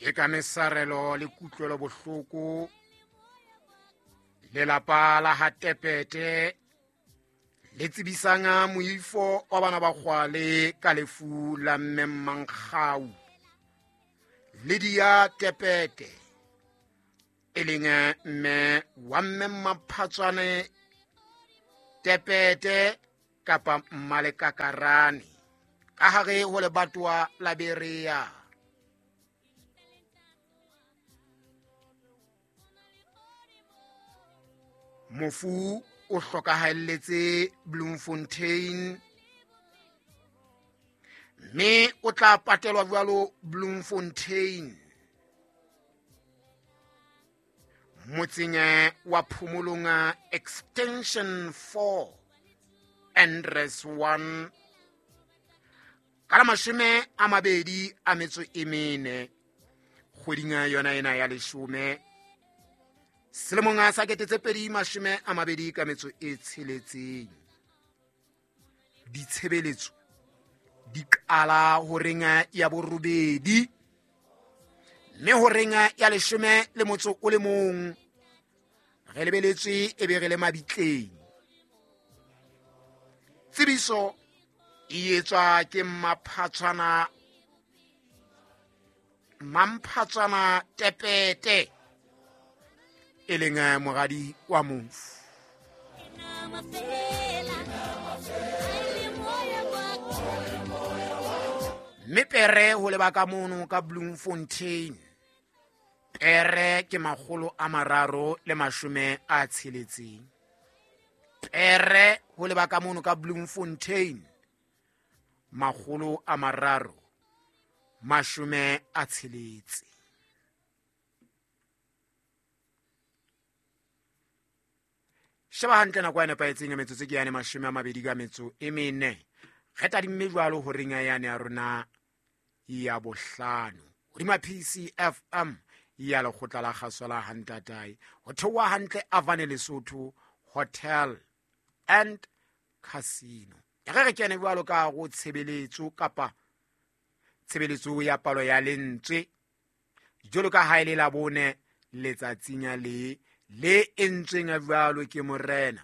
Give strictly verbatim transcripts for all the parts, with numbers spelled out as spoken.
Ke ka mesarelo le kutlwelo bohloko lelapa la ha Tepete le tsebisang moifo wa bana ba Kgwale ka lefu la mme Mmankgau Lydia Tepete, e leng mme wa mme Maphatswane Tepete kapa Mmalekakarane ka hare ho lebatowa la Berea. Mofu o hlokahalletse Bloemfontein mme o tla patelwa jwalo Bloemfontein motseng wa Phomolong Extension four Andres one ka la mashome a mabedi a metso e mene kgweding yona ena ya leshome selemong sa kete tse pedi mashome a mabedi ka metso e tsheletseng. Ditshebeletso di qala horeng ya borobedi mme horeng ya leshome le motso o le mong re lebeletswe e be re le mabitleng. Tsebiso e etswa ke Maphatswana Mamphatswana Tepete e leng moradi wa mofu. Mme pere ho leba ka mono ka Bloemfontein, pere ke makgolo a mararo le mashome a tsheletseng. Pere ho leba ka mono ka Bloemfontein, makgolo a mararo mashome a tsheletse. Sheba hantle nako ya nepahetseng ya metsotso ke yane mashome a mabedi ka metso e mene. Re tadimme jwalo horeng ya yane ya rona ya bohlano hodima P C F M ya lekgotla la kgaso la Hantatae ho theoha hantle Avane Lesotho Hotel and Casino. E re re kene jwalo ka go tshebeletso kapa tshebeletso ya palo ya lentswe jwalo ka ha e le la bone letsatsing le le entsweng jwalo ke morena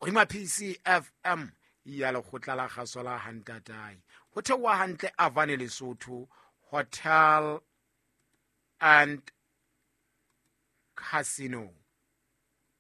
hodima P C F M ya lekgotla la kgaso la Hantatae ho theoha hantle Avane Lesotho Hotel and Casino.